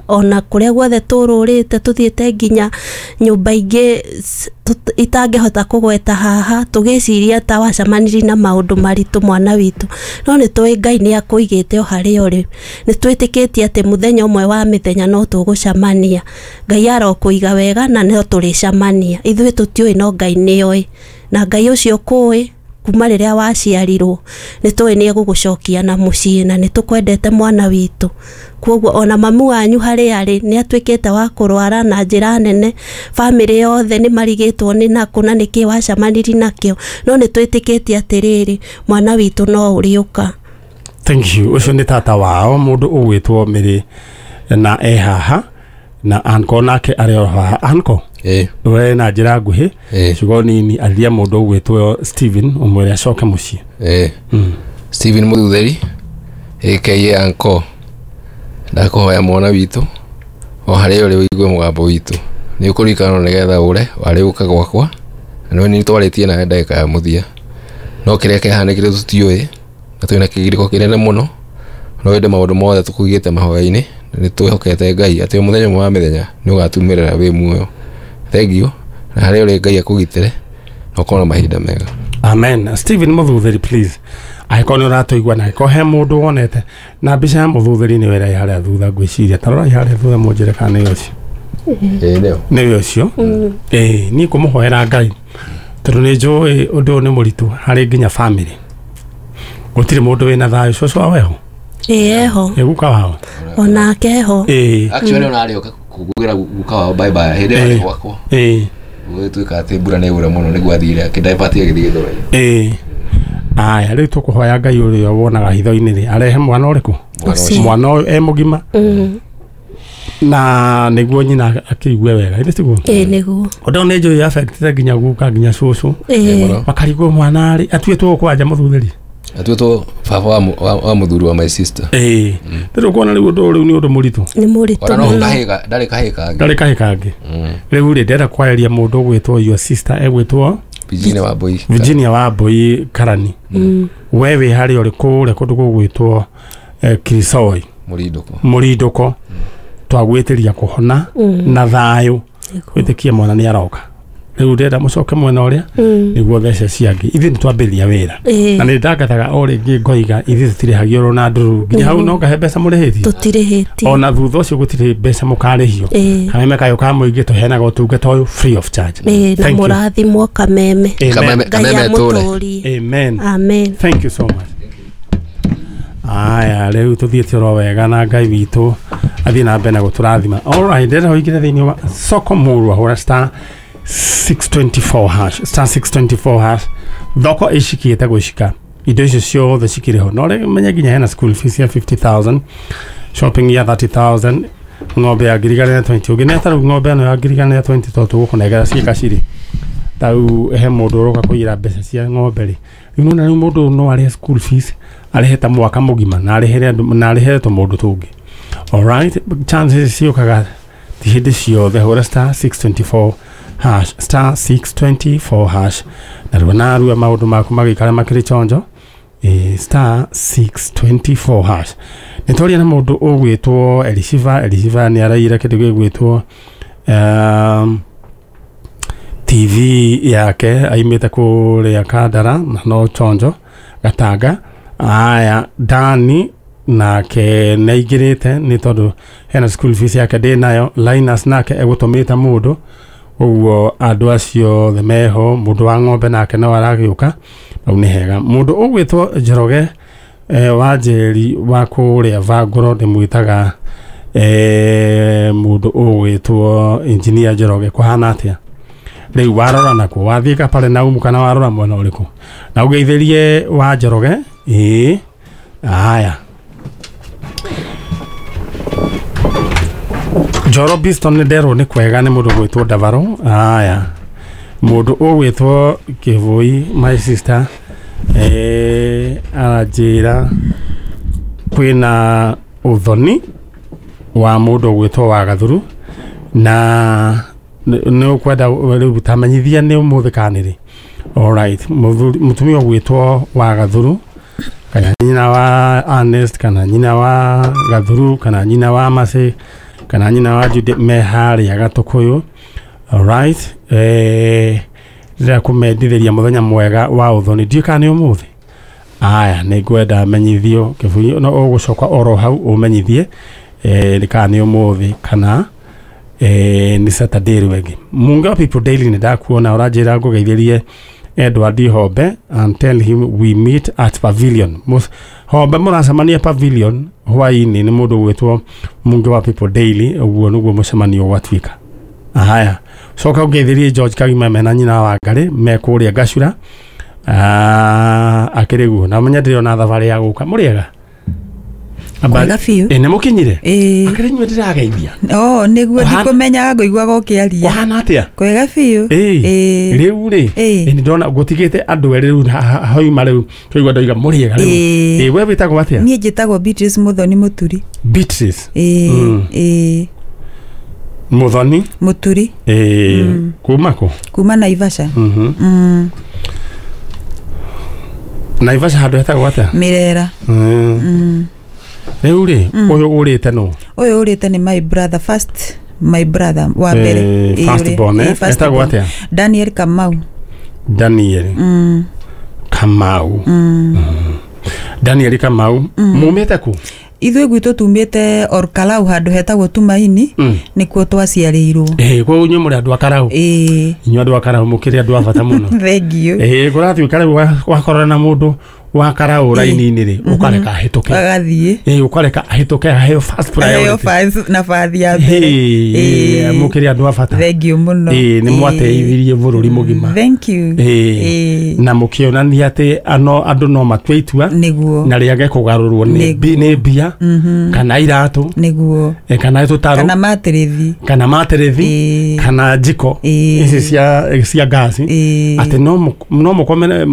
Ona kũrĩa guothe tũrũrĩte tũthiĩte nginya nyũmba ingĩ itangĩhota kũgweta haha, tũgĩciria ta wacemanirie na maũndũ maritũ, mwana witũ, no nĩ tũĩ Ngai nĩ akũigĩte o harĩa ũrĩ. Nĩ twĩtĩkĩtie atĩ mũthenya ũmwe wa mĩthenya no tũgũcemania. Ngai arokũiga wega na no tũrĩcemania. Ithuĩ tũtiũĩ, no Ngai nĩoĩ, na Ngai ũcio kũĩ kuma rĩrĩa waciarirwo nĩ tũĩ nĩ egũgũcokia na mũciĩ, na nĩ tũkwendete, mwana witũ. Koguo ona mamu wanyu harĩa arĩ nĩ atuĩkĩte wa kũrwara na njĩra nene. Bamĩrĩ yothe nĩ marigĩtwo nĩ nakũ na nĩkĩ wacemanirie nakĩo, no nĩ twĩtĩkĩtie atĩrĩrĩ, mwana witũ no ũrĩũka. Thank you. Ũcio nĩ tata wao, mũndũ ũgwĩtwo Mĩrĩ, na e haha na anko nake arĩ o haha. Anko, we na njĩra nguhĩ, ciugo nini, aria mũndũ ũgwĩtwo Steven, ũmwĩre acoke mũciĩ. Steven Mũthutheri aka Anko, ndakũhoya mwana witũ o harĩa ũrĩ ũigue mũgambo witũ. Nĩ ũkũririkanwo nĩgetha ũre warĩ ũka gwakwa na nĩ twarĩtie nawe ndagĩka ya mũthia, no kĩrĩa kĩahanĩkire tũtiũĩ, na twĩna kĩgirĩko kĩnene mũno, no ĩndĩ maũndũ mothe tũkũigĩte mahoya-inĩ na nĩ twĩhokete Ngai atĩ o mũthenya ũmwe wa mĩthenya nĩ ũgatumĩrĩra wĩ muoyo. Thank you, na harĩa ũrĩ Ngai akũgitĩre na ũkorwo na mahinda mega. Amen. Steven Mũthutheri, please, angĩkorwo nĩ ũratũigua na angĩkorwo he mũndũ wonete na mbica ya Mũthutheri, nĩ wĩra harĩa thutha, ngwĩciria tarorai harĩa thutha, mũnjĩre kana nĩ ũcio. Ĩĩ, nĩyo. Nĩwe ũcio. Ĩĩ, niĩ kũmũhoera Ngai, tondũ nĩ njũĩ ũndũ ũyũ nĩ mũritũ harĩ nginya family. Gũtirĩ mũndũ wĩna thayũ. Cũcũ wao eho? Ĩĩ, eho. Ĩ guka wao? Onake eho. Actually ona arĩ oka kũgwĩra guka wao bye bye hĩndĩ ĩyo arĩ gwakwa. Gũgĩtuĩka atĩ mbura nĩ yaura mũno, nĩguo athire akĩdivert agĩthiĩ Gĩthũrai. Ĩĩ, aya, rĩu tũkũhoya Ngai ũrĩa wonaga hitho-inĩ rĩ arehe mwana ũrĩkũ? Ũcio. Mwana ũyũ e mũgima na nĩguo nyina akĩigue wega, ithĩ tiguo? Ĩĩ, nĩguo. Ũndũ ũyũ nĩ njũĩ affectĩte nginya guka nginya cũcũ. Ĩĩ. Makarigwo mwana rĩ atuĩtwo kwanja Mũthuthĩri. Atuĩtwo baba wa mũthuri wa my sister. Ĩĩ, rĩu kuona rĩu ũndũ ũyũ rĩu nĩ ũndũ mũritũ. Nĩ mũritũ Ona no mũno. kahĩga ndarĩ kahĩ kangĩ. Ndarĩ kahĩ kangĩ. Rĩu rĩ, ndĩrenda kwarĩria mũndũ ũgwĩtwo your sister, egwĩtwo Virginia wa Mbui. Virginia wa Mbui Karani. We wĩ harĩa ũrĩ kũrĩa kũndũ gũgwĩtwo Kirisoi. Mũrindũko. Mũrindũko, twagwĩtĩria kũhona na thayũ. Wĩtĩkie mwana nĩ aroka. Rĩu ndĩrenda mũcoke mwena ũrĩa nĩguo thece ciangĩ. Ithuĩ nĩ twambĩrĩria wĩra na nĩ ndangathaga o rĩngĩ ngoiga ithuĩ tũtirĩhagio oro na ndũruru nginya hau no ngahe mbeca mũrĩhĩtie. Tũtirĩhĩtie. Ona thutha ũcio gũtirĩ mbeca mũkarĩhio. Kameme kayũ ka mũingĩ tũheanaga ũtungata ũyũ free of charge. Ĩĩ, na Thank you. mũrathimwo, Kameme. Amen. Kameme. Ngai Kameme tũre. amũtũrie. Amen. Amen. Thank you so much. Aya, rĩu tũthiĩte oro wega na Ngai witũ athiĩ na mbere na gũtũrathima. Alright, ndĩrenda ũingĩre thĩinĩ wa soko mũrwa, hũra *624#, *624#. Thoko ĩcikĩte gũcika, indo icio ciothe cikĩrĩ ho, no rĩu menye nginya hena school fees ya 50,000, shopping ya 30,000, ng'ombe ya 1,020. Ũngĩneta rĩu ng'ombe ĩno ya 1,020, tondũ tũgũkũnengera ciĩka cirĩ tau he mũndũ ũroka kũiyĩra mbeca cia ng'ombe rĩ. Rĩu nona rĩu mũndũ ũyũ no arĩhe school fees, arĩhe ta mwaka mũgima na arĩhere andũ na arĩhere tũmũndũ tũngĩ. Alright, chances ciũkaga ti hĩndĩ ciothe. Hũra *624#, *624#, narua narua maũndũ maku magĩikara makĩrĩ chonjo. *624#. Nĩ twaria na mũndũ ũgwĩtwo Elishiva. Elishiva nĩ araiyĩra kĩndũ gĩgwĩtwo TV yake, aimĩte kũrĩa Kandara na no chonjo Gatanga. Aya, Dani nake nĩ aingĩrĩte nĩ tondũ hena school fees yake ndĩ nayo. Linus nake egũtũmĩte mũndũ ũguo. Andũ acio othe meho. Mũndũ wa ng'ombe nake no aragĩũka hau, nĩ hega. Mũndũ ũgwĩtwo Njoroge wa Njeri wa kũrĩa Vangũro, ndĩmwĩtaga mũndũ ũgwĩtwo Engineer Njoroge, kũhana atĩa? Rĩu warora nakuo, wathiĩ Kapare naumu kana warora mwena ũrĩkũ na ũgeithĩrie wa Njoroge. Ĩĩ, aya, Njoro Biston nĩ nderwo nĩ kwega, nĩ mũndũ ũgwĩtwo Ndavaro. Aya, mũndũ ũgwĩtwo Kĩbũi, my sister, aranjĩra kwĩna ũthoni wa mũndũ ũgwĩtwo wa Gathuru na nĩ ũkwenda rĩu tamenyithia nĩ ũmũthĩ kana nĩ rĩ. Alright, mũtumia ũgwĩtwo wa Gathuru, kana nyina wa Ernest, kana nyina wa Gathuru, kana nyina wa Macĩ. kana nyina wa Judy me harĩa Gatũkũyũ. Alright, ndĩrenda kũmendithĩria mũthenya mwega wa ũthoni, ndiũĩ kana nĩ ũmũthĩ. Aya, nĩ ngwenda menyithio kĩbunyo, no ũgũcoka oro hau ũmenyithie nĩ kana nĩ ũmũthĩ kana nĩ Saturday rĩu. Munga wa People Daily nĩ ndakuona ũranjĩra ngũgeithĩrie Edward Hombe and tell him we meet at Pavilion. Hombe mũracemania Pavilion hwaĩ-inĩ nĩ mũndũ ũgwĩtwo Munga wa People Daily, ũguo nĩguo mũcemanio gwatuĩka. Haya, coka ũngeithĩrie George Kagima mena nyina wa Ngarĩ me kũrĩa Gacura. Akĩrĩ guo na menya ndĩrona thabarĩ ya gũka. Mũrĩega? Kwega biũ. Nĩ mũkinyire? Ĩĩ. Akĩrĩ inyuĩ ndĩrageithia. Oh, nĩguo ndikũmenyaga ngũiguaga ũkĩaria. Ũhana atĩa? Kwega biũ. Ĩĩ. Rĩu rĩ, nĩ ndona gũtigĩte andũ erĩ rĩu hauma rĩu twaigua ndoiga mũrĩega rĩu. Ĩĩ. Ĩĩ, we wĩtagwo atĩa? Niĩ njĩtagwo Beatrice Muthoni Mũturi. Beatrice. Ĩĩ. Ĩĩ. Muthoni Mũturi. Ĩĩ. Kuma kũ? Kuma Naivasha. Naivasha handũ hetagwo atĩa? Mirera. Rĩu rĩ, ũyũ ũrĩte nũ? Ũyũ ũrĩte nĩ my brother, first my brother wa mbere. First born, etagwo atĩa? Daniel Kamau. Daniel Kamau. Daniel Kamau, mumĩte kũ? Ithuĩ gwitũ tumĩte Orkalau handũ hetagwo Tumaini, nĩkuo twaciarĩirwo. Koguo inyuĩ mũrĩ andũ a Karau? Ĩĩ. Inyuĩ andũ a Karau mũkĩrĩ andũ a bata mũno. Thank you. Kũratuĩka rĩu wakorana na mũndũ wa Karau raini-inĩ rĩ, ũkareka ahĩtũke. Agathiĩ. Ũkareka ahĩtũke aheo first priority. Aheo first nabathi ya mbere. Mũkĩrĩ andũ a bata. Thank you mũno. Nĩ mwateithirie bũrũri mũgima. Thank you. Na mũkĩonania atĩ andũ no matue itua. Nĩguo. Na rĩage kũgarũrwo nĩ mbia, kana iratũ. Nĩguo. Kana tũtarũ. Kana matĩrĩthi. Kana matĩrĩthi. Kana njiko. Ici cia ngasi. Atĩ no mũkomere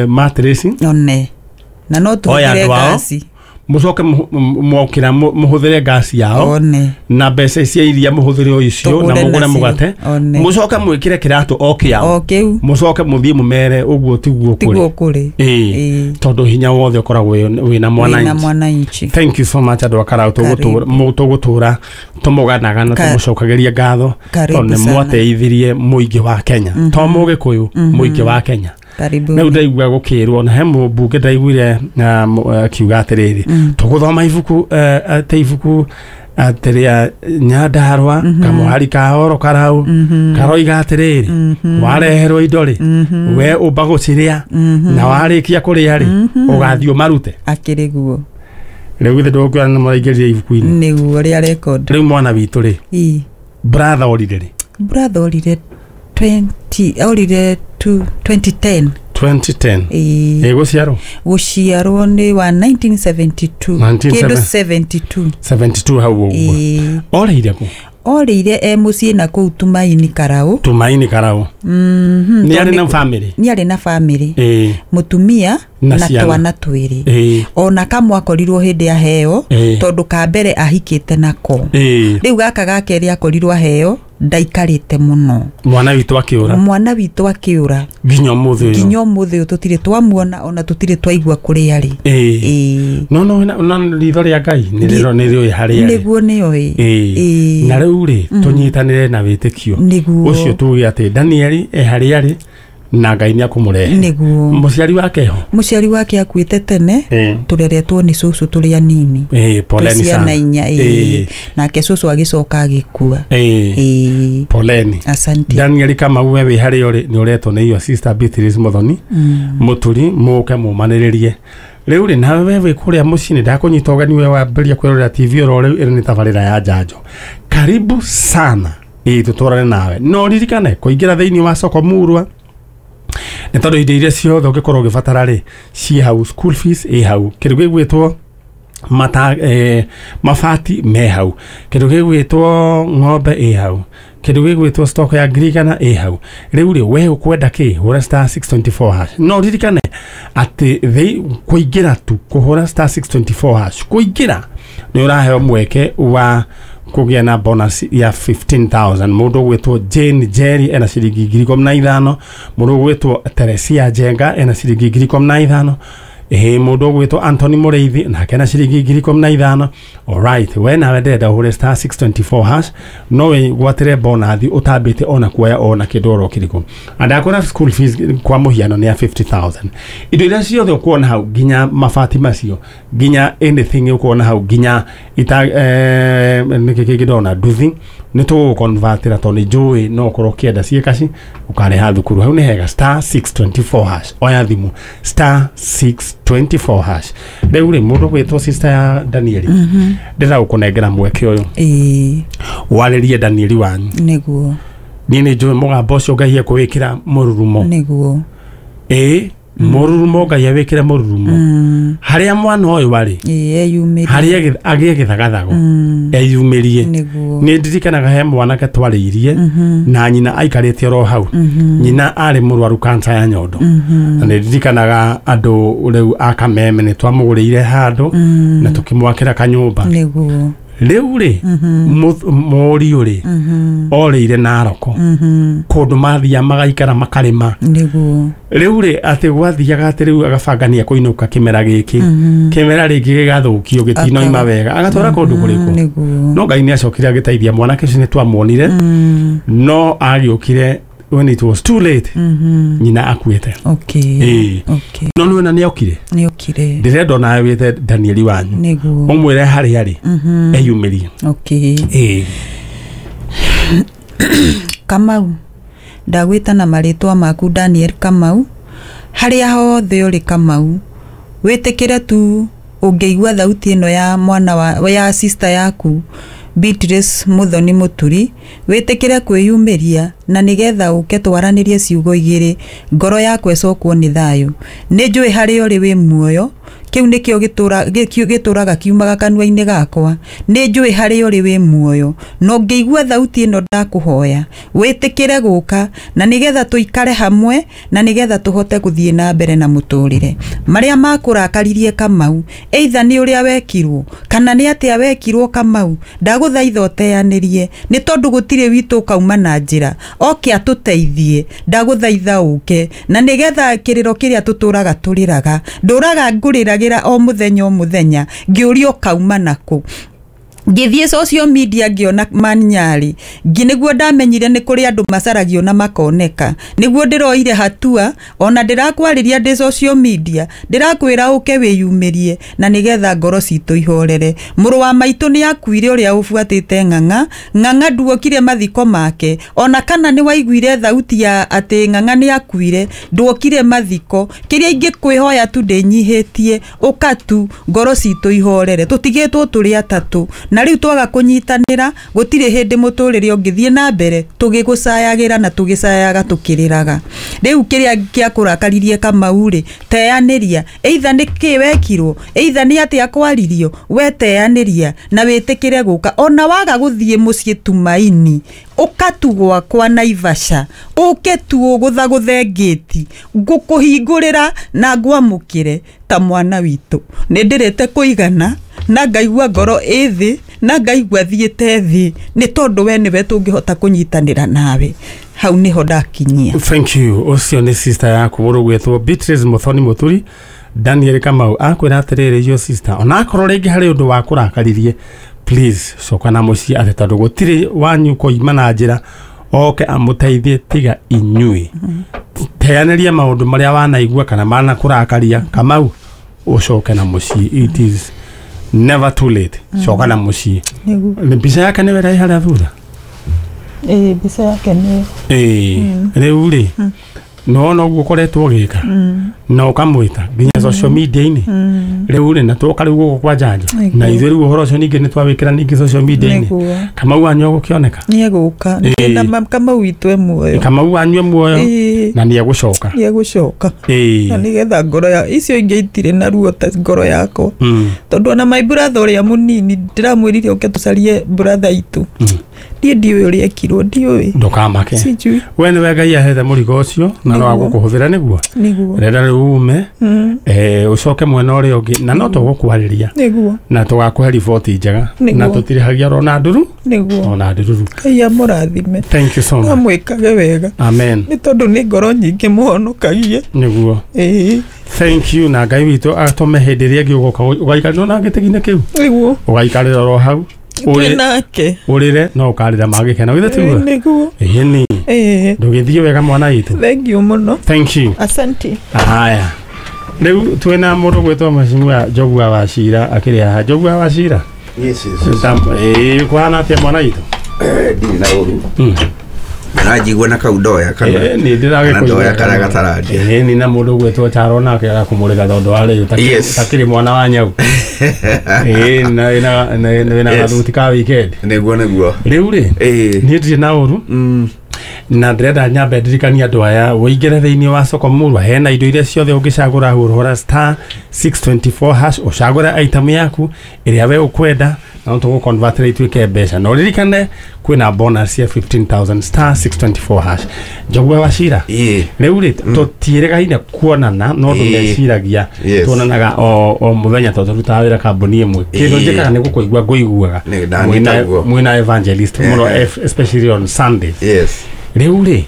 matĩrĩci. One. Na no tũhũthĩre ngasi. Mũcoke mwokĩra mũhũthĩre ngasi yao. One. Na mbeca cia iria mũhũthĩre o icio na mũgũre mũgate. Mũcoke mwĩkĩre kĩratũ o kĩao. O kĩu. Mũcoke mũthiĩ mũmere ũguo tiguo kũrĩ. Tiguo kũrĩ. Tondũ hinya wothe ũkoragwo wĩna mwananchi. Thank you so much andũ a Karau, tũgũtũra tũmũganaga na tũmũcokagĩria ngatho tondũ nĩ mwateithirie mũingĩ wa Kenya. To mũgĩkũyũ, mũingĩ wa Kenya. Rĩu ndaigua gũkĩrwo na he mũmbunge ndaiguire akiuga atĩrĩrĩ, tũgũthoma ibuku atĩ ibuku atĩ rĩa Nyandarũa kamũhari ka Oro Karau karoiga atĩrĩrĩ, wareherwo indo rĩ, we ũmba gũcirĩa na warĩkia kũrĩa rĩ, ũgathiĩ ũmarute. Akĩrĩ guo. Rĩu githĩ ndũkuona nĩ mũraingĩrire ibuku-inĩ? Nĩguo rĩa record. Rĩu mwana witũ rĩ, brother orire rĩ? Brother orire 2010. 2010. Gũciarwo? Gũciarwo nĩ wa 1972. Kĩndũ 72. 72 hau ũguo. Orĩire kũ? Orĩire e mũciĩ na kũu Tumaini Karau. Tumaini Karau. Nĩ arĩ na family? Nĩ arĩ na family. Mũtumia na twana twĩrĩ. Ona kamwe akorirwo hĩndĩ aheo tondũ ka mbere ahikĩte nako. Rĩu gaka ga kerĩ akorirwo aheo ndaikarĩte mũno. Mwana witũ akĩũra. Mwana witũ akĩũra. Nginya ũmũthĩ ũyũ. Nginya ũmũthĩ ũyũ tũtirĩ twamuona ona tũtirĩ twaigua kũrĩa arĩ. No no ritho rĩa Ngai nĩ rĩũĩ harĩa arĩ. Nĩguo nĩoĩ. Na rĩu rĩ, tũnyitanĩre na wĩtĩkio. Nĩguo. Ũcio tuge atĩ Daniel e harĩa arĩ na Ngai nĩ akũmũrehe. Nĩguo. Mũciari wake ho? Mũciari wake akuĩte tene, tũreretwo nĩ cũcũ tũrĩ anini. Poleni sana. Ciana inya. Nake cũcũ agĩcoka agĩkua. Poleni. Asante. Daniel Kamau we wĩ harĩa ũrĩ nĩ ũretwo nĩ your sister Beatrice Muthoni. Mũturi mũke mũmanĩrĩrie. Rĩu rĩ, nawe we wĩ kũrĩa mũciĩ nĩ ndakũnyita ũgeni we wambĩrĩria kwĩrorera TV oro rĩu ĩno nĩ tabarĩra ya njanjo. Karibu sana. Tũtwarane nawe. No ririkane kũingĩra thĩinĩ wa soko murwa nĩ tondũ indo iria ciothe ũngĩkorwo ũgĩbatara rĩ ciĩ hau, school fees ĩ hau, kĩndũ gĩgwĩtwo mabati me hau, kĩndũ gĩgwĩtwo ng'ombe ĩ hau, kĩndũ gĩgwĩtwo stock ya ngirigana ĩ hau. Rĩu rĩ, we ũkwenda kĩ, hũra *624# No ririkane atĩ kũingĩra tu kũhũra *624# kũingĩra nĩ ũraheo mweke wa kũgĩa na bonus ya 15,000. Mũndũ ũgwĩtwo Jane Jerry ena ciringi 15,000, mũndũ ũgwĩtwo Teresia Njenga ena ciringi 15,000, Ĩĩ mũndũ ũgwĩtwo Anthony Mũrĩithi nake na ciringi 15,000. Alright, we nawe ndĩrenda ũhũre star 624 hash no wĩgwatĩre bonathi ũtambĩte ona kuoya ona kĩndũ oro kĩrĩkũ. Na ndakwĩra school fees kwa mũhiano nĩ ya 50,000. Indo iria ciothe ũkuona hau nginya mabati macio nginya anything ũkuona hau nginya ita nĩkĩ kĩngĩ ndona nduthi nĩ tũgũconvertĩra tondũ nĩ njũĩ no ũkorwo ũkĩenda ciĩ kaci ũkareha thukuru. Hau nĩ hega, star 624 hash, oya thimũ star 624 hash. Rĩu rĩ mũndũ gwĩtwo sister ya Danieli, ndĩrenda gũkũnengera mweke ũyũ warĩrie Danieli wanyu. Nĩguo. Niĩ nĩ njũĩ mũgambo ũcio Ngai ekũwĩkĩra mũrurumo. Nĩguo. Ĩĩ, mũrurumo Ngai awĩkĩre mũrurumo harĩa mwana ũyũ arĩ, Ĩĩ, eyumĩrie. Harĩa agĩe gĩthagathago eyumĩrie. Nĩguo. Nĩ ndirikanaga he mwanake twarĩirie na nyina aikarĩte oro hau. Nyina arĩ mũrwaru kansa ya nyondo, na nĩ ndirikanaga andũ rĩu a Kameme nĩ twamũgũrĩire handũ na tũkĩmwakĩra kanyũmba. Nĩguo. Rĩu rĩ mũriũ rĩ orĩire Naroko kũndũ mathiaga magaikara makarĩma. Nĩguo. Rĩu rĩ atĩ gwathiaga atĩ rĩu agabanga nĩ ekũinũka kĩmera gĩkĩ, kĩmera rĩngĩ gĩgathũkio gĩtinoima wega, agatwara kũndũ kũrĩkũ. Nĩguo. No Ngai nĩ acokire agĩteithia mwanake ũcio, nĩ twamuonire, no agĩũkire when it was too late, nyina akuĩte. Okay. Ĩĩ. Okay. No nĩwona nĩ okire. Nĩokire. Ndĩrenda onawe wĩte Danieli wanyu, Nĩguo. ũmwĩre harĩa arĩ eyumĩrie. Okay. Ĩĩ. Kamau, ndagwĩta na marĩtwa maku Daniel Kamau, harĩa hothe ũrĩ Kamau, wĩtĩkĩre tu ũngĩigua thauti ĩno ya mwana wa ya sister yaku Beatrice Muthoni Mũturi, wĩtĩkĩre kwĩyumĩria na nĩgetha ũke twaranĩrie ciugo igĩrĩ, ngoro yakwa ĩcokwo nĩ thayũ. Nĩ njũĩ harĩa ũrĩ wĩ muoyo, kĩu nĩkĩo gĩtũraga kiumaga kanua-inĩ gakwa. Nĩ njũĩ harĩa ũrĩ wĩ muoyo, na ũngĩigua thauti ĩno ndakũhoya wĩtĩkĩre gũka na nĩgetha tũikare hamwe na nĩgetha tũhote gũthiĩ na mbere na mũtũrĩre. Marĩa makũrakaririe Kamau, either nĩ ũrĩa wekirwo kana nĩ atĩa wekirwo Kamau, ndagũthaitha ũteanĩrie, nĩ tondũ gũtirĩ witũ ũkauma na njĩra oke atũteithie. Ndagũthaitha ũke na nĩgetha kĩrĩro kĩrĩa tũtũraga tũrĩraga, ndũraga ngũrĩragĩra o mũthenya o mũthenya ngĩũria ũkauma nakũ. Ngĩthiĩ social media ngĩona Manyarĩ, nĩguo ndamenyire nĩ kũrĩ andũ macaragio na makoneka. Nĩguo ndĩroire hatua ona ndĩrakwarĩria ndĩ social media, ndĩrakwĩra ũke wĩyumĩrie na nĩgetha ngoro citũ ihorere. Mũrũ wa maitũ nĩ akuire ũrĩa ũbuatĩte ng'ang'a. Ng'ang'a nduokire mathiko make, ona kana nĩ waiguire thauti ya atĩ ng'ang'a nĩ akuire, nduokire mathiko. Kĩrĩa ingĩkwĩhoya tu ndĩnyihĩtie, ũka tu ngoro citũ ihorere. Tũtigĩtwo tũrĩ atatũ na rĩu twaga kũnyitanĩra gũtirĩ hĩndĩ mũtũrĩre ũngĩthiĩ na mbere tũgĩgũcayagĩra na tũgĩcayaga tũkĩrĩraga. Rĩu kĩrĩa gĩakũrakaririe Kamau rĩ, teanĩria, either nĩ kĩ wekirwo, either nĩ atĩa kwaririo, we teanĩria na wĩtĩkĩre gũka. Ona waga gũthiĩ mũciĩ Tumaini, ũka tu gwakwa Naivasha, ũke tu ũgũthagũthe ngĩti, ngũkũhingũrĩra na ngwamũkĩre ta mwana witũ. Nĩ ndĩrĩte kũigana na ngaigua ngoro ĩ thĩ na ngaigua thiĩte thĩ, nĩ tondũ we nĩwe tũngĩhota kũnyitanĩra nawe. Hau nĩho ndakinyia. Thank you. Ũcio nĩ sister yaku mũrũ gwĩtwo Beatrice Muthoni Mũturi. Daniel Kamau akwĩra atĩrĩrĩ, yo sister, onakorwo rĩngĩ harĩ ũndũ wa kũrakaririe, please coka na mũciĩ, atĩ tondũ gũtirĩ wanyu koima na njĩra oke amũteithie tiga inyuĩ. Teanĩria maũndũ marĩa wanaigua kana manakũrakaria Kamau, ũcoke na mũciĩ. It is never too late. Coka na mũciĩ. Nĩguo. Mbica yake nĩwe ĩrĩ harĩa thutha. Ĩĩ, mbica yake nĩ Ĩĩ, rĩu rĩ nĩwona ũguo ũkoretwo ũgĩka na ũkamwĩta nginya social media-inĩ. Rĩu rĩ na twoka rĩu gũkũ kwa njanjo Nĩguo. na ithuĩ rĩu ũhoro ũcio ningĩ nĩ twawĩkĩra ningĩ social media-inĩ. Nĩguo. Kamau wanyu egũkĩoneka. Nĩ egũka. Ĩĩ. Na Kamau witũ e muoyo. Kamau wanyu e muoyo Ĩĩ. na nĩ egũcoka. Nĩ egũcoka na Ĩĩ. nĩgetha ngoro ya icio ingĩ itirĩ na ruo ta ngoro yakwa, tondũ ona my brother ũrĩa mũnini ndĩramwĩrire ũke tũcarie brother itũ. Niĩ ndiũĩ ũrĩa ekirwo, ndiũĩ. Ndũkamake. Sijui. We nĩwe Ngai ahete mũrigo ũcio na no Nĩguo. agũkũhũthĩra nĩguo. Nĩguo. Renda rĩu ume ũcoke mwena ũrĩa ũngĩ na no tũgũkwarĩria Nĩguo. na tũgakũhe riboti njega Nĩguo. na tũtirĩhagia ona nduru Nĩguo. ona ndururu. Ngai amũrathime. Thank you so much. Amwĩkage wega. Amen. Nĩ tondũ nĩ ngoro nyingĩ mũhonokagie. Nĩguo. Ĩĩ. Thank you na Ngai witũ atũme hĩndĩ ĩrĩa ĩngĩ ũgoka ũgaikarĩra na gĩtĩ-inĩ kĩu. Nĩguo. Ũgaikarĩra oro hau. Ũrĩre ũrĩre no ũkarĩra magĩkena githĩ tiguo? Nĩguo. Ĩni. Ndũgĩthiĩ wega mwana witũ. Thank you mũno. Thank you. Asante. Haya. Rĩu twĩna mũndũ gwĩtwo Mheshimiwa Njogua wa Cira akĩrĩ haha. Njogua wa Cira. Yes, yes. Kũhana atĩa mwana witũ? Ndirĩ na ũru. Aranjigua na kau ndoya kana nĩ ndĩragĩkũigua ndoya kana gatarandia. Nĩ na mũndũ ũgwĩtwo Charo nake agakũmũrĩra tondũ wa rĩu takĩrĩ mwana wa nyau. Na wĩna gathuti ka weekend. Nĩguo nĩguo. Rĩu rĩ niĩ ndirĩ na ũru na ndĩrenda nyambe ndirikanie andũ aya ũingĩre thĩinĩ wa soko murwa hena indo iria ciothe ũngĩcagũra hũra star 624 hash ũcagũre item yaku ĩrĩa we ũkwenda na tũgũ convert ituĩke mbeca na ũririkane kwĩna bonus ya 15,000 star 624 hash. Njogua wa Cira rĩu rĩ tũtiĩrĩgaine kuonana no andũ meciragia tuonanaga o mũthenya tondũ tũrutaga wĩra kambuni ĩmwe. Kĩndũ njĩkaga nĩ gũkũigua ngũiguaga mwĩna evangelist mũno especially on Sundays. Yes. Rĩu rĩ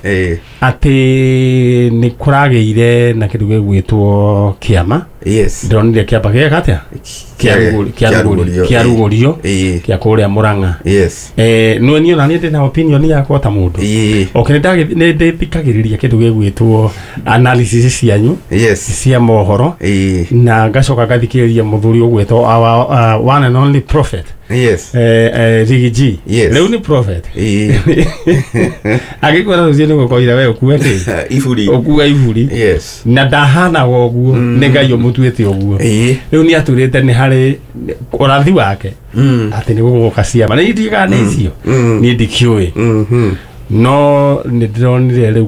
atĩ nĩ kũragĩire na kĩndũ gĩgwĩtwo kĩama. Yes. Ndĩronire kĩamba gĩeka atĩa? Kĩarugũrio kĩa kũrĩa Mũrang'a. Yes. No niĩ ona niĩ ndĩna opinion yakwa ta mũndũ. Okay, nĩ ndĩthikagĩrĩria kĩndũ gĩgwĩtwo analysis cianyu. Yes. Cia mohoro. Na ngacoka ngathikĩrĩria mũthuri ũgwĩtwo our one and only prophet. Yes. Rigi G. Yes. Rĩu nĩ prophet. Agĩkwĩra rũciũ nĩ gũkoira we ũkue kĩ? Iburi. Ũkue iburi. Yes. Na ndahanaga ũguo nĩ Ngai ũmũtuĩte ũguo. Rĩu nĩ atwĩrĩte nĩ harĩ ũrathi wake atĩ nĩ gũgũka ciama. Nĩ ndigaga nĩ icio. Niĩ ndikĩũĩ. No nĩ ndĩronire rĩu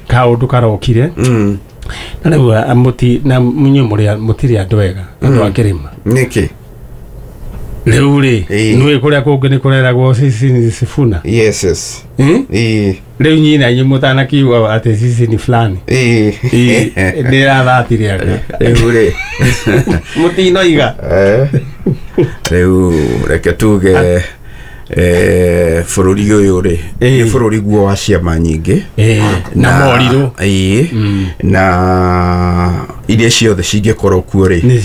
kaũndũ karokire. Na rĩu na inyuĩ mũtirĩ andũ ega andũ a kĩrĩma. Nĩkĩ? Rĩu rĩ nĩũĩ kũrĩa kũngĩ nĩ kũreragwo sisi ni Sifuna. Yes, yes. Rĩu nyina inyuĩ mũtanakiuga atĩ sisi ni fulani. Nĩ ĩrathatire anga. Rĩu rĩ mũtinoiga. Rĩu reke tuge bũrũri ũyũ rĩ nĩ bũrũri guo wa ciama nyingĩ na morirũ na iria ciothe cingĩkorwo kuo rĩ nĩ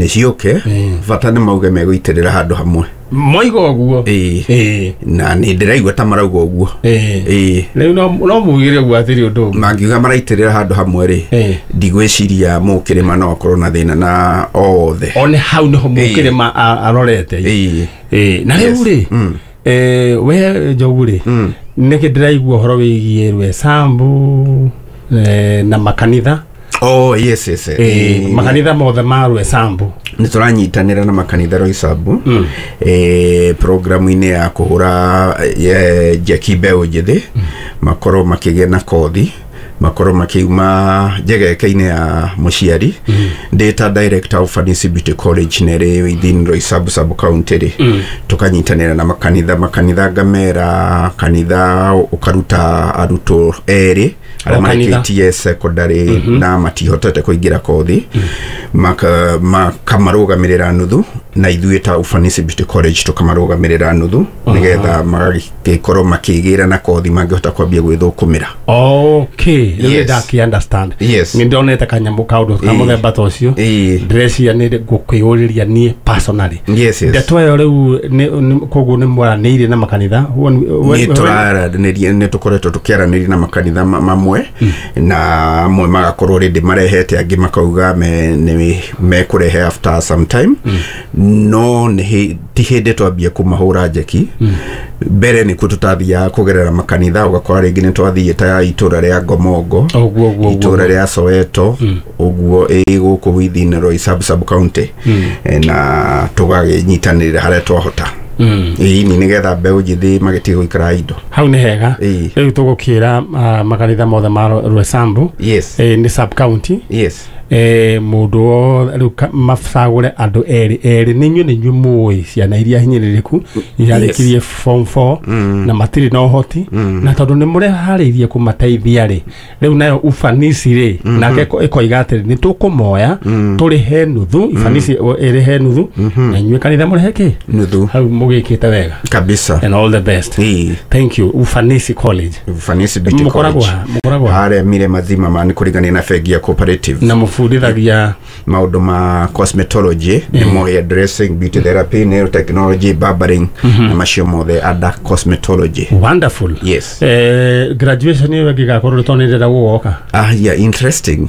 ciũke bata nĩ mauge megũitĩrĩra handũ hamwe moiga ũguo na nĩ ndĩraigua ta marauga ũguo. Rĩu no mugire ũguo atĩrĩ ũndũ ũngĩ mangiuga maraitĩrĩra handũ hamwe rĩ ndigwĩciria mũkĩrĩma no akorwo na thĩna na o wothe. One hau nĩho mũkĩrĩma arorete. Na rĩu rĩ we Njogu rĩ nĩkĩ ndĩraigua ũhoro wĩgiĩ Rwesambu na makanitha. Oh, yes, yes. Makanitha mothe ma Rwesambu nĩ tũranyitanĩra na makanitha Roysambu programu-inĩ ya kũhũra njeki mbeũ njĩthĩ makorwo makĩgĩa na kothi makorwo makiuma njegeke-inĩ ya mũciari. Ndĩ ta director of Fanisi Beauty College nĩ within Roysambu sub county rĩ tũkanyitanĩra na makanitha ngamera kanitha ũkaruta arutwo erĩ arĩa marĩkĩtie secondary na matihotete kũingĩra kothi makamarũgamĩrĩra nuthu na ithuĩ ta Ufanisi Beauty College tũkamarũgamĩrĩra nuthu nĩgetha magagĩkorwo makĩgĩra na kothi mangĩhota kwambia gwĩthũkũmĩra. Okay, rĩu ndakĩ understand. Nĩ ndonete kanyamũ kaũndũ ka mũthemba ta ũcio ndĩreciria nĩ ngũkwĩyũrĩria niĩ personally. Ndeto ĩyo rĩu koguo nĩ mwaranĩirie na makanitha? Nĩ tũraranĩria, nĩ tũkoretwo tũkĩaranĩria na makanitha mamwe na amwe magakorwo rĩndĩ marehete angĩ makauga mekũrehe after some time no ti hĩndĩ twambie kũmahũra njeki. Mbere nĩkuo tũtathiaga kũgerera makanitha ũgakora rĩngĩ nĩ twathiĩ ta itũra rĩa Ngomongo, itũra rĩa Soweto ũguo ĩ gũkũ within Roysambu sub county na tũgagĩnyitanĩrĩra harĩa twahota. Ĩĩ nĩgetha mbeũ njĩthĩ magĩtige gũikara indo. Hau nĩ hega. Rĩu tũgũkĩra makanitha mothe ma Rwesambu nĩ sub county. Yes. Mundu riu macagure andu eri eri ni inyuĩ mũĩ ciana iria hinyĩrĩrĩku irarĩkirie form 4 na matirĩ na ũhoti na tondũ nĩ mũreharĩirie kũmateithia rĩ rĩu nayo ufanisi rĩ nake ĩkoiga atĩrĩ nĩ tũkũmoya tũrĩhe nuthu ifanisi ĩrĩhe nuthu na inyuĩ kanitha mũrĩhe kĩ nuthu hau mũgĩkĩte wega kabisa and all the best. Thank you. Ufanisi College, Ufanisi Beauty College mũkoragwo harĩa mire mazima ma nĩ kũringania na bengi ya cooperative na mũbundithagia maundu ma cosmetology nimo hair dressing, beauty therapy, nail technology, barbering na macio mothe ada cosmetology. Wonderful. Yes. Graduation iyo ĩngĩgakorwo tondũ nĩndĩrenda gũgoka. Yeah, interesting.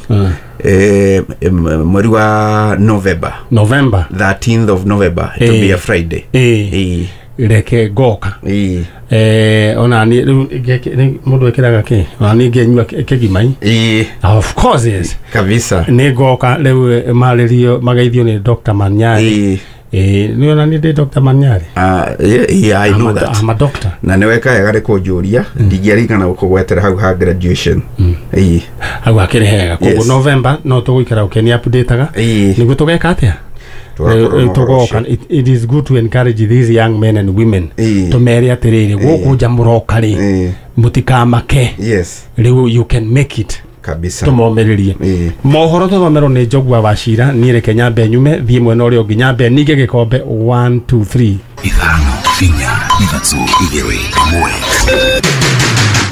Mweri wa November 13th of November, it will be a Friday. Reke ngoka ona ni riu mundu ekiraga ki ona ni ngenyua kigimai. Of course yes kabisa ni ngoka riu maririo mageithio ni Dr. Manyari. Ni ona ni Dr. Manyari. Yeah, I know that. I'm a doctor. Na ni weka wega ni kunjuria ndingĩarigana gũkũgwetera hau ha graduation. Hau hakĩrĩ hega koguo November no tũgũikara ũkĩni updateaga nĩguo tũgeka atĩa. It is good to encourage these young men and women to mere atiriri guku nja muroka ri mutikamake. Yes, riu you can make it kabisa tumomeririe mohoro tuthomerwo ni Njogua wa Cira. Ni reke nyambe nyume thie mwena uria ungi nyambe ninge gikombe 1 2 3 5 4 3 2 1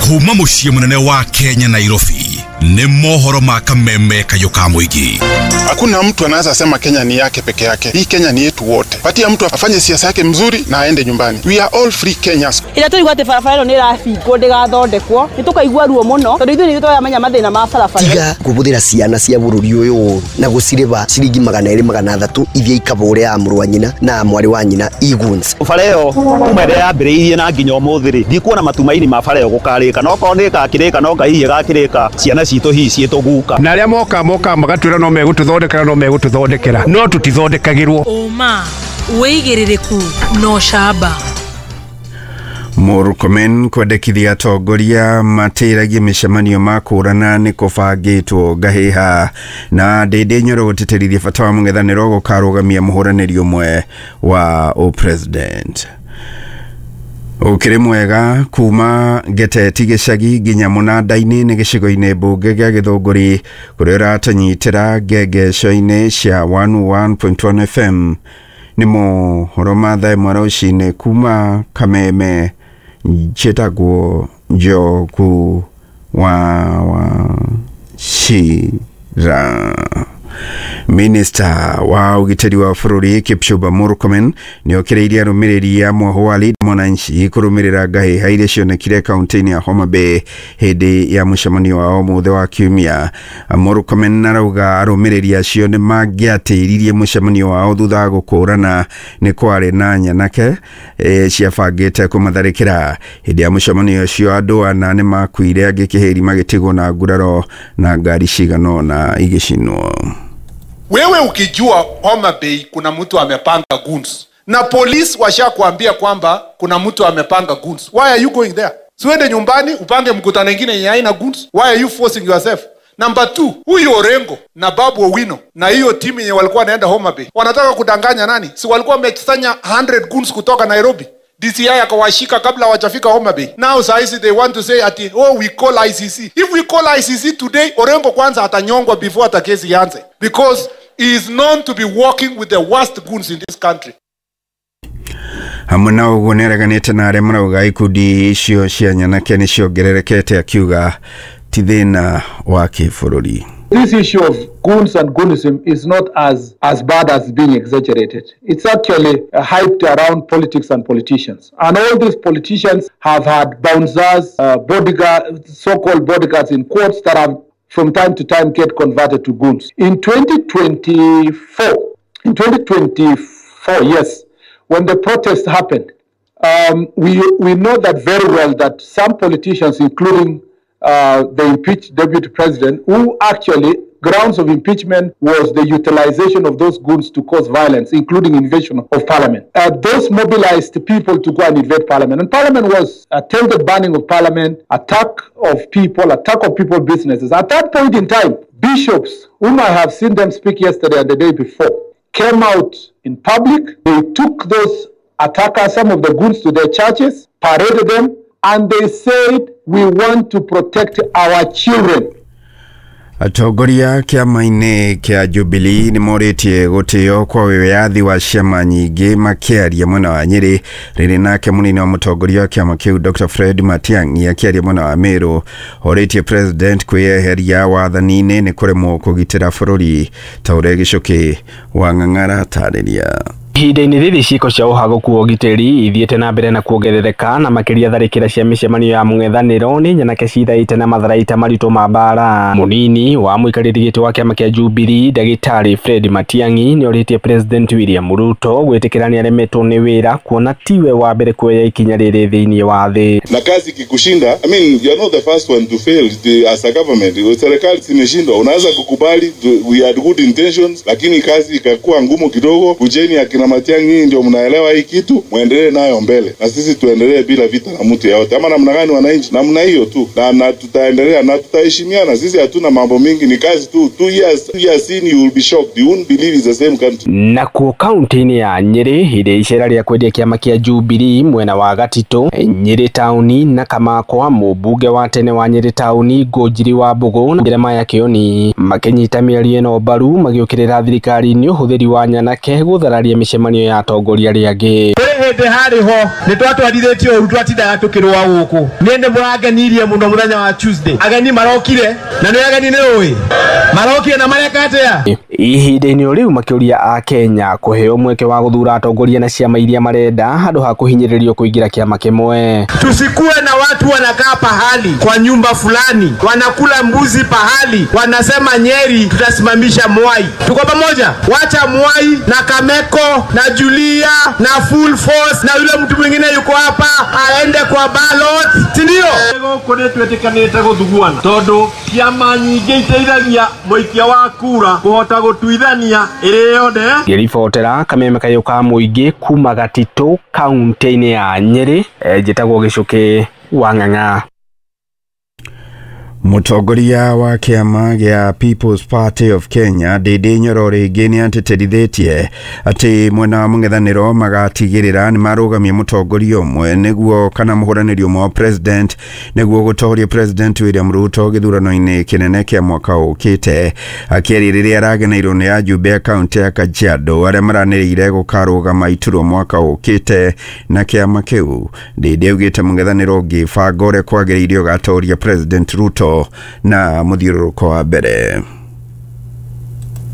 kuma muciĩ munene wa Kenya Nairobi ni mohoro ma kameme kayo ka mũingĩ. Hakuna mtu anaweza sema Kenya ni yake peke yake. Hii Kenya ni yetu wote. Patia mtu afanye siasa yake mzuri na aende nyumbani. We are all free Kenyans. Ila tuli gwate barabara ĩno nĩ ĩrabingwo ndĩgathondekwo. Nĩ tũkaigua ruo mũno tondũ ithuĩ nĩ tũramenya mathĩna ma barabara. Tiga kũhũthĩra ciana cia bũrũri ũyũ ũru na gũcirĩba ciringi 200 300 ithiĩ ikabũre ya mũrũ wa nyina na mwarĩ wa nyina iguns. Bara ĩyo kuma ĩrĩa yambĩrĩirie na nginya ũmũthĩ rĩ ndikuona matumaini ma bara ĩyo gũkarĩka no korwo nĩ ĩgakĩrĩka no Ngai hihi ĩgakĩrĩka ciana citũ hihi ciĩtũguka. Na arĩa moka magatwĩra no megũtũthondekera no megũtũthondekera no tũtithondekagĩrwo. Ũma wĩigĩrĩrĩku no camba. Murkomen kwendekithia atongoria matĩragie mĩcemanio makũrana nĩ kũbangĩtwo ngahĩha na Ndĩndĩ Nyoro gũtĩtĩrithia bata wa mũng'ethanĩro gũkarũgamia mũhũranĩri ũmwe wa ũpresident. Ukiri mwega kuma Geteti gĩcagi nginya mũnanda-inĩ nĩ gĩcigo-inĩ mbunge gĩa Gĩthũngũri kũrĩa ũratũnyitĩra ngengeco-inĩ cia 101.1 FM. Nĩ mohoro ma thaa ĩmwe rũcinĩ kuma Kameme. Njĩtagwo Njogu wa Wachira. Minister wa ũgitĩri wa bũrũri Kipchumba Murkomen nĩokĩrĩirie arũmĩrĩri a mwoho wa Linda Mwananchi kũrũmĩrĩra ngahĩha iria cionekire kaunti-inĩ ya Homa Bay hĩndĩ ya mũcemanio wao ũmũthĩ wa kiumia. Murkomen arauga arũmĩrĩri acio nĩ mangĩatĩririe mũcemanio wao thutha wa gũkũrana nĩ kwarĩ na nyanake ciabangĩte kũmatharĩkĩra. Hĩndĩ ya mũcemanio ũcio andũ ana nĩ makuire angĩ kĩhĩri magĩtigwo na nguraro na ngari cigana ũna igĩcinwo. Wewe ukijua Homa Bay kuna mtu amepanga goons na polisi washakuambia kwamba kuna mtu amepanga goons, why are you going there? Siwende nyumbani upange mkutano mwingine yenye haina goons. Why are you forcing yourself? Number 2, huyu Orengo na Babu Owino na hiyo timu yenye walikuwa wanaenda Homa Bay wanataka kudanganya nani? Si walikuwa wamekusanya 100 goons kutoka Nairobi? DCI akawashika kabla hawajafika Homa Bay. Now saizi they want to say ati oh we call ICC. If we call ICC today, Orengo kwanza atanyongwa before hata kesi ianze, because he is known to be working with the worst goons in this country. Hamwe na ũguo nĩareganĩte na arĩa marauga ikundi icio cia nyanake nĩciongererekete akiuga ti thĩna wa kĩbũrũri. This issue of goons and goonism is not as bad as being exaggerated. It's actually hyped around politics and politicians. And all these politicians have had bouncers, bodyguards, so-called bodyguards in courts that have from time to time get converted to goons. In 2024, yes, when the protest happened, we know that very well that some politicians, including the impeached deputy president, who actually grounds of impeachment was the utilization of those goons to cause violence, including invasion of parliament. Those mobilized people to go and invade parliament. And parliament was attempted banning of parliament, attack of people businesses. At that point in time, Bishops, whom I have seen them speak yesterday and the day before, came out in public. They took those attackers, some of the goons, to their churches, paraded them, and they said, we want to protect our children. Atongoria kĩama-inĩ kĩa Jubilee nĩ morĩtie gũtĩo kwa wĩyathi wa ciama nyingĩ makĩaria mwena wa Nyĩrĩ, rĩrĩ nake mũnini wa mũtongoria wa kĩama kĩu Dr. Fred Matiang'i akĩaria mwena wa Meru orĩtie president kwĩyeheria wathani-inĩ nĩ kũremwo kũgitĩra bũrũri ta ũrĩa Gĩcũkĩ wa Ng'ang'ara atarĩria. Ihinda-inĩ rĩrĩ ciĩko cia ũhagũku wa ũgitĩri ithiĩte na mbere na kuongerereka na makĩria tharĩkĩra cia mĩcemanio ya mũng'ethanĩro nĩ nyanake cithaĩte na matharaita maritũ ma mbara. Mũnini wa mũikarĩri gĩtĩ wa kĩama kĩa Jubilee Ndagĩtarĩ Fred Matiang'i nĩorĩtie President William Ruto gwĩtĩkĩra nĩaremetwo nĩ wĩra kuona tiwe wa mbere kuoya ikinya rĩrĩ thĩinĩ wa thĩ. Na kazi ikikushinda, I mean, you are not the first one to fail as a government. Serikali zimeshindwa, unaweza kukubali we had good intentions, lakini kazi ikakuwa ngumu kidogo. Kujeni akina Matiang'i ndio mnaelewa hii kitu, muendelee nayo mbele na sisi tuendelee bila vita na mtu yeyote. Ama namna gani wananchi? Namna hiyo tu, na tutaendelea na tutaheshimiana. Sisi hatuna mambo mingi, ni kazi tu. 2 years, 2 years in you will be shocked, you won't believe it's the same country. Nakuo kaunti-inĩ ya Nyĩrĩ ĩrĩa icera rĩa kwendia kĩama kĩa Jubilee mwena wa Gatitũ, Nyĩrĩ taũni na Kamakwa, mũmbunge wa tene wa Nyĩrĩ taũni Ngũnjiri wa Mbũgũ na Jeremiah Kĩoni makĩnyita mĩario ĩno mbaru magĩũkĩrĩra thirikari nĩ ũhũthĩri wa nyanake gũthararia mĩcemanio ya atongoria arĩa angĩ. Kũrĩ hĩndĩ harĩ ho nĩ twatwarithĩtio ũru, twatindaga tũkĩrũa gũkũ. Niĩ nĩ mũrangenirie mũno mũthenya wa Tuesday. Ageni marokire na nĩ ageni nĩ ũĩ marokire na mareka atĩa. Ihinda-inĩ o rĩu makĩũria a Kenya kũheo mweke wa gũthura atongoria na ciama iria marenda handũ ha kũhinyĩrĩrio kũingĩra kĩama kĩmwe. Tusikuwe na watu wanakaa pahali kwa nyumba fulani, wanakula mbuzi pahali, wanasema Nyeri tutasimamisha Mwai. Tuko pamoja? Wacha Mwai na Kameko na Julia na Full Force na yule mtu mwingine yuko hapa aende kwa ballot, si ndio? Gũkũ nĩ twĩtĩkanĩte gũthuguana tondũ ciama nyingĩ iteithagia mũikia wa kura kũhota gũtuithania ĩrĩ yothe. Ngĩribotera kameme kayũ ka mũingĩ kuma Gatitũ kaunti-inĩ ya Nyĩrĩ, njĩtagwo Gĩcũkĩ wa Ng'ang'a. Mũtongoria wa kĩama gĩa People's Party of Kenya Ndindi Nyoro rĩngĩ nĩ atĩtĩrithĩtie atĩ mwena wa mũng'ethanĩro magatigĩrĩra nĩ marũgamia mũtongoria ũmwe nĩguo kana mũhũranĩri ũmwe wa president nĩguo gũtoria President William Ruto gĩthurano-inĩ kĩnene kĩa mwaka ũkĩte. Akĩaria rĩrĩa arageneirwo nĩ ajumbe a kaunti ya Kajiado arĩa maranĩrĩire gũkarũgama iturwa mwaka ũkĩte na kĩama kĩu, Ndindi augĩte mũng'ethanĩro ũngĩbanga ũrĩa kwagĩrĩire ũgatoria President Ruto na mũthiũrũrũko wa mbere.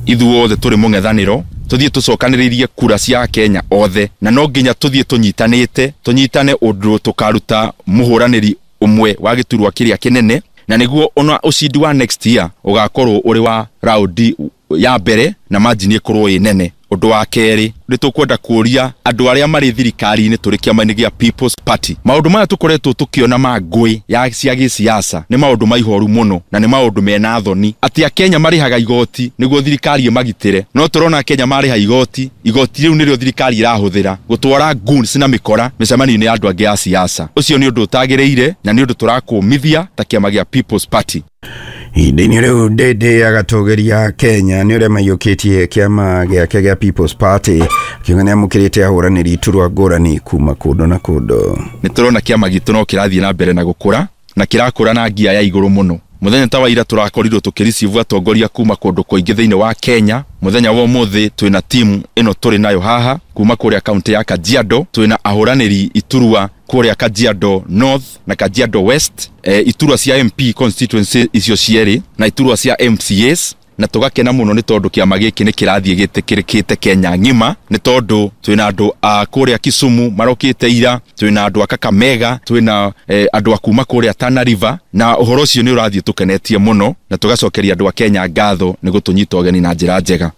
Ithuothe tũrĩ mũng'ethanĩro tũthiĩ tũcokanĩrĩrie kura cia Kenya othe, na no nginya tũthiĩ tũnyitanĩte, tũnyitane ũndũ tũkaruta mũhũranĩri ũmwe wa gĩturwa kĩrĩa kĩnene, na nĩguo ona ũcindi wa next year ũgakorwo ũrĩ wa raundi ya mbere na margin ĩkorwo ĩ nene. Ũndũ wa kerĩ, nĩ tũkwenda kũũria andũ arĩa marĩ thirikari-inĩ tũrĩ kĩama-inĩ gĩa People's Party, maũndũ maya tũkoretwo tũkĩona ma ngũĩ ya cia gĩsiasa nĩ maũndũ ma ihoru mũno na nĩ maũndũ mena thoni atĩ Akenya marĩhaga igoti nĩguo thirikari ĩmagitĩre, no tũrona Akenya marĩha igoti, igoti rĩu nĩrĩo thirikari ĩrahũthĩra gũtwara goons na mĩkora mĩcemanio-inĩ ya andũ angĩ a siasa. Ũcio nĩ ũndũ ũtagĩrĩire na nĩ ũndũ tũrakũmithia ta kĩama gĩa People's Party. Ihinda-inĩ rĩu Ndindi agatũgĩria Kenya nĩ ũrĩa maiyũkĩtie kĩama gĩake gĩa People's Party, akiuga nĩamũkĩrĩte ahũranĩri iturwa ngũrani kuma kũndũ na kũndũ. Nĩ tũrona kĩama gitũ no kĩrathiĩ na mbere na gũkũra na kĩrakũra na ngia ya igũrũ mũno. Mũthenya ta wa ira tũrakorirwo tũkĩricivu atongoria kuma kũndũ kũingĩ thĩinĩ wa Kenya. Mũthenya wa ũmũthĩ twĩna timu ĩno tũrĩ nayo haha kuma kũrĩa kaunti ya Kajiado, twĩna ahũranĩri iturwa kũrĩa Kajiado North na Kajiado West, iturwa cia MP constituency icio cierĩ na iturwa cia MCAs, na tũgakena mũno nĩ tondũ kĩama gĩkĩ nĩ kĩrathiĩ gĩtĩkĩrĩkĩte Kenya ng'ima, nĩ tondũ twĩna andũ a kũrĩa Kisumu marokĩte ira, twĩna andũ a Kakamega, twĩna andũ a kuma kũrĩa Tana River, na ũhoro ũcio nĩ ũrathiĩ tũkenetie mũno na tũgacokeria andũ a Kenya ngatho nĩ gũtũnyita ũgeni na njĩra njega.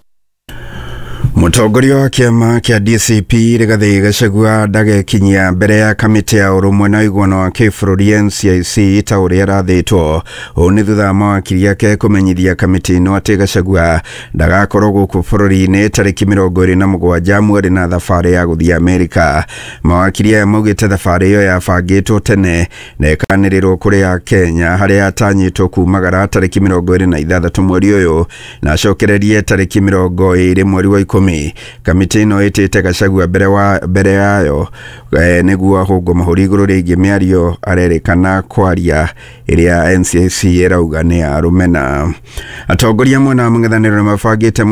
Mũtongoria wa kĩama kĩa DCP Rigathĩ Gachagua ndagekinyia mbere ya kamĩtĩ ya ũrũmwe na ũiguano wa kĩbũrũri NCIC ta ũrĩa arathĩtwo. Ũũ nĩ thutha wa mawakiri ake kũmenyithia kamĩtĩ ĩno atĩ Gachagua ndagakorwo gũkũ bũrũri-inĩ tarĩki 27 mweri na thabarĩ ya gũthiĩ Amerika. Mawakiri aya maugĩte thabarĩ ĩyo yabangĩtwo tene na ĩkanĩrĩrwo kũrĩa Kenya harĩa atanyĩtwo kumagara tarĩki 26 mweri ũyũ na acokererie tarĩki 20 mweri wa 10. Kamĩtĩ ĩno ĩtĩte Gachagua mbere yayo nĩguo ahũngwo mahũri igũrũ rĩgiĩ mĩario arerĩkana kwaria ĩrĩa NCIC ĩrauga nĩ ya rũmena. Atongoria mwena wa mũng'ethanĩro nĩmabangĩte